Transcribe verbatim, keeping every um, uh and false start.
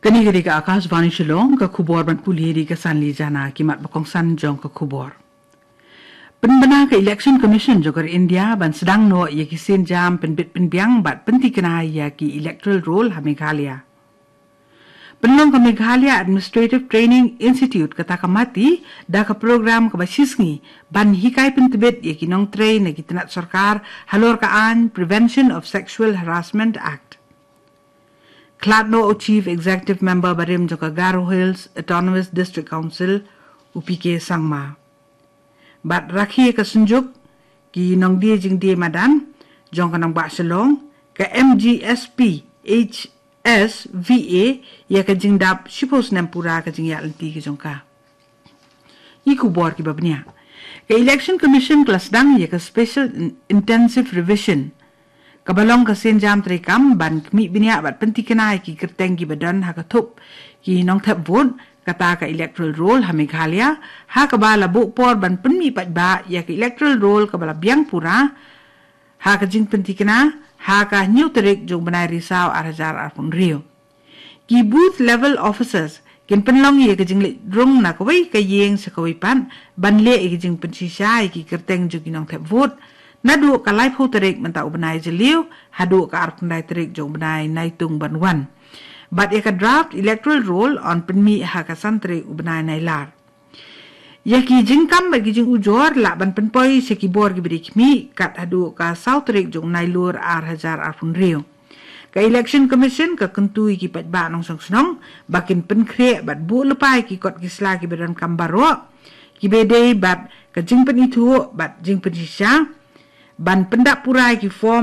Kane ka dei ka Akashvani Shillong, ka khubor ban pule da ka Sanli Jana. Ki mat ba kongsan jong ka khubor. Pynbna ka Election Commission jong ka India ban sdang noh ïa ki sienjam pynbit pynbiang bad pyntikna ïa ki electoral roll ha Meghalaya. Pynlong ka Meghalaya Administrative Training Institute kata ka MATI da ka program kaba shisngi ban hikai pyntbit ïa ki nongtrei na ki tnat sorkar halor ka aiñ Prevention of Sexual Harassment Act. Khlad noh u Chief Executive Member barim jong ka Garo Hills Autonomous District Council, u P K Sangma. Bad rakhe ka synjuk ki nongdie jingdie madan jong ka nongbah Shillong, ka M G S P H S V A, ïa ka jingdap shiphew snem pura ka jingïaid lynti ka jong ka. Ki khubor kiba bniah. Ka Election Commission ka la sdang ïa ka Special In-, Intensive Revision, kaba long ka sienjam treikam ban khmih bniah bad pyntikna ïa ki kyrteng kiba don ha ka thup ki nongthep vote, kata ka electoral roll ha Meghalaya, ha kaba la buh por ban pynmih paidbah ïa ka electoral roll kaba la biang pura ha ka jingpyntikna ha ka hynñiew tarik jong u bnai Risaw ar hajar arphew hynriew. Ki booth level officers kin pynlong ïa ka jingleit rung na kawei ka ïing sha kawei pat ban leh ïa ka jingpynshisha ïa ki kyrteng jong ki nongthep vote naduh ka laiphew tarik mynta u bnai Jylliew haduh ka arphew khyndai tarik jong u bnai Naitung ban wan. Bad ïa ka draft electoral roll yn pynmih ha ka san tarik u bnai Nailar. Ïa ki jingkam bad ki jingujor lah ban pynpoi sha ki bor kiba dei khmih kat haduh ka saw tarik jong u Nailur ar hajar arphew hynriew. Ka Election Commission ka kyntu ïa ki paidbah nongshong shnong ba kin pynkhreh bad buh lypa ïa ki kot ki sla kiba donkam baroh, kiba dei bad ka jingpynithuh bad jingpynshisha, ban pyndap pura ïa ki form